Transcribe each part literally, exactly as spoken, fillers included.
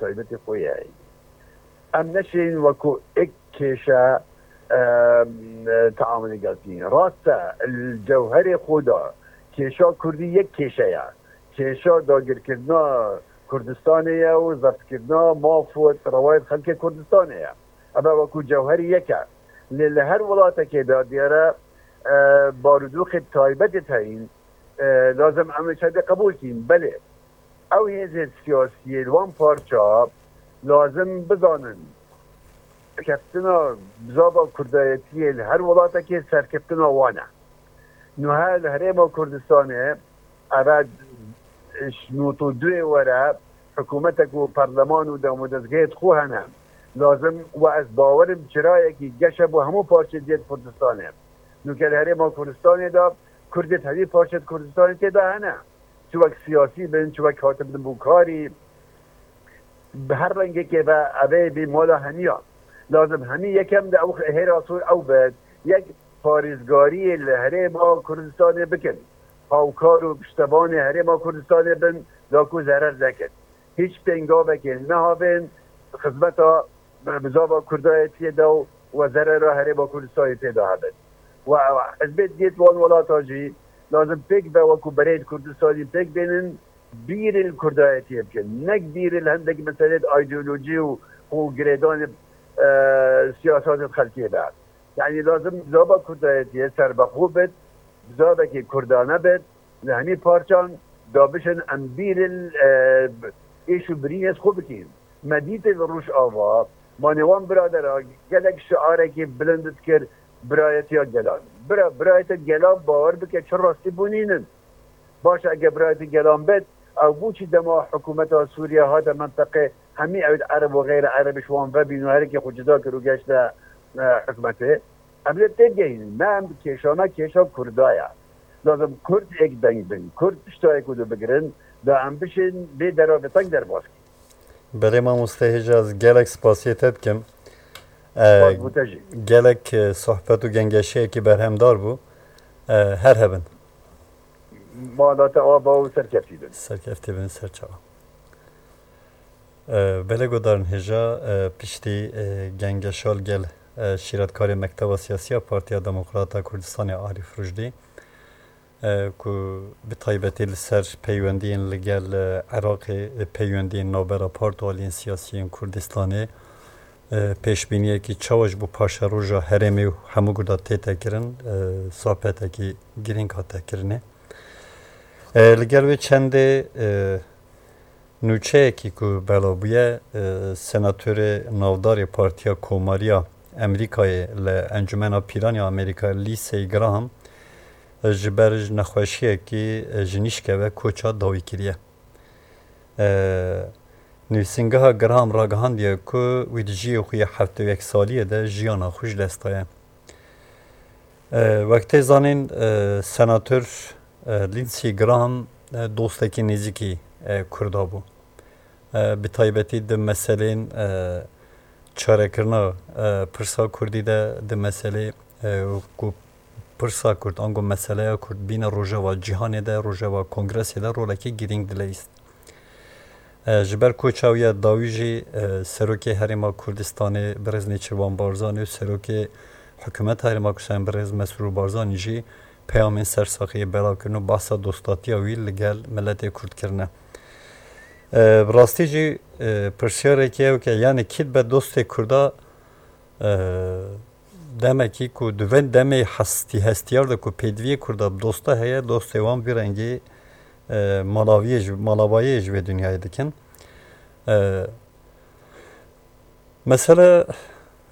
taybetê xwe ye. Em neşên wekû ek kêşe, em, teamulê gel bikîn. Rast e, li cewherê xwe de kêşa Kurdî yek kêşe ye. Kêşa dagirkirina Kurdistanê ye û zeftkirina maf û rewayê xelkê Kurdistanê ye. Ev e wekû cewherî yek e. Lê li her welatekê de diyar e, e, barûdûxê taybetê heyîn, e, lazim em ê çendê qebûl kîn. Belê, ew hêzên siyasiyê li wan parça lazim bizanin, serkeftina bizava kurdayetiyê li her welatekê serkeftina wan e. Nuha li Herêma Kurdistanê, eve ji nod û duyê were hikûmetek û perleman û demodezgehê xwe hene. Lazim, we ez bawerim çirayekî geş e bo hemû parçeyê diyê Kurdistanê. Nûke li Herêma Kurdistanê de Kurdê di hemî parçeyê Kurdistanê tê de hene. Çi wek siyasî bin, çi wek hatibin bo karî, bi her rengekê ve evê bî mala hemiya. Lazim hemî yekem de ew hêra sor ew be, yek parêzgariyê li Herêma Kurdistanê bikin. Hawkar û piştevanê Herêma Kurdistanê bin, da ku zerer nekin. Hîç pêngavekê nehavên xizmeta bizava kurdayetiyê de û we zerera Herêma Kurdistanê tê de hebin. We hizbê diyê di wan welata jî lazim pêk be, wekû berê di Kurdistanê pêk bênin, bîrê li kurdayetiyê bikin. Nek bîrê li hindek meselê di ideolojî û xwe girêdanê, e, siyasatê xelkê de. Yani lazim bizava kurdayetiyê serbexwe bit, bizavekî kurdane bit, li hemî parçan da bişin em bîrê li, e, êş û birînê xwe bikîn. Me dîtê li Rojava, ma nêwan biradera gelek şiarekî bilind dikir, birayetiya gelan. Bira, birayetiya gelan bawer bike çi rastî bûnînin. Baş e, ege birayetî gelan bet, ew bû çi dema hikûmeta Sûriye hate menteqê, hemî ew Ereb û xeyr Ereb ji wan vebîn û herekê xwe cida kir û geşte, e, hikûmetê? Em lê têgehînin, me em kêşa me kêşa Kurda ye. Lazim Kurd êk deng bin, Kurd pişta yek û du bigirin, da em bişên vê dera vê teng derbas kin. Belê mamoste Hêja, ez gelek spasiyê te dikim. E, Spas bo te jî. Gelek, e, sohbet û gengeşiyekî berhemdar bû. E, her hebin. Mala te ava û serkeftî bin. Serkeftî bin, serçava. E, belê guhdarên hêja, e, piştî, e, gengeşa li gel, e, şîretkarê Mekteba Siyasî ya Partiya Demokrata Kurdistanê Arîf Rûjdî, e, ku bi taybetî li ser peywendiyên li gel, e, Iraqê, e, peywendiyên navbera part û aliyên siyasî yên Kurdistanê, e, pêşbîniyekî çawa ji bo paşeroja herêmê û hemû Kurda tête kirin, e, sohbetekî girîng hate kirinê. E, li gel wê çendê, e, nûçeyekî ku belav bûye, e, senatorê navdarê Partiya Komariya Amerîkayê li Encûmena Pîran ya Amerîka, Lindsey Graham, e, ji ber ji nexweşiyekî, e, ji nîşke ve koça dawî kiriye. E, nivîsîngeha Graham ragihandiye ku wî di jiyê xwe yê heftê û yek saliyê de jiyana xwe ji dest daye. E, wek tê zanîn, e, senator, e, Lindsey Graham, e, dostekî nêzîkî, e, Kurda bû. E, bi taybetî di meselên, e, çarekirina, e, pirsa Kurdî de, di meselê, e, ku pirsa Kurd, ango meseleya Kurd bîne rojeva cîhanê de, rojeva kongresê de rolekî girîng dileyîst. E, ji ber koça wî ya dawî jî, e, Serokê Herêma Kurdistanê Birêz Nêçîrvan Barzanî û Serokê Hikûmeta Herêma Kurdistanê Birêz Mesrûr Barzanî jî peyamên sersaxiyê belav kirin û behsa dostatiya wî li gel miletê Kurd kirine. E, bi rastî jî, e, pirsyareke ew ke, yani kî dibe dostê Kurda, e, demekî ku di vê demê hestî-, hestiyar de ku pêdiviyê Kurda bi dosta heye, dostê wan vî rengî, e, malaviyê ji, malabayê ji vê dinyayê dikin. E, mesele,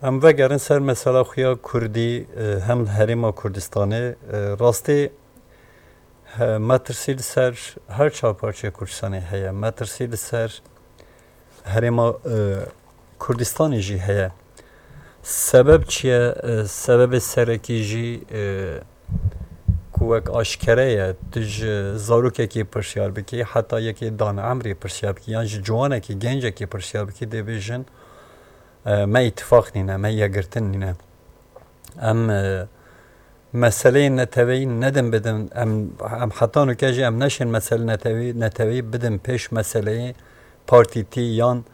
em vegerin ser mesela xuya Kurdî, e, hem li Herêma Kurdistanê, e, rastî, he, metirsî li ser her çar parçeyê Kurdistanê heye. Metirsî li ser Herêma, e, Kurdistanê jî heye. Sebeb çi ye? E, sebebê serekî jî, e, ku wek aşkere ye, tu ji zarokekî pirsyar bikî, heta yekê dan emrê pirsyar bikî, yan ji ciwanekî, gencekî pirsyar bikî, dê bêjin, e, me îtifaq nîne, me yekgirtin nîne. Em, e, meseleyên neteweyî nedin bidin, em, em heta nûke jî em neşên meselê neteweyî, neteweyî bidin pêş meseleyê partîtî yan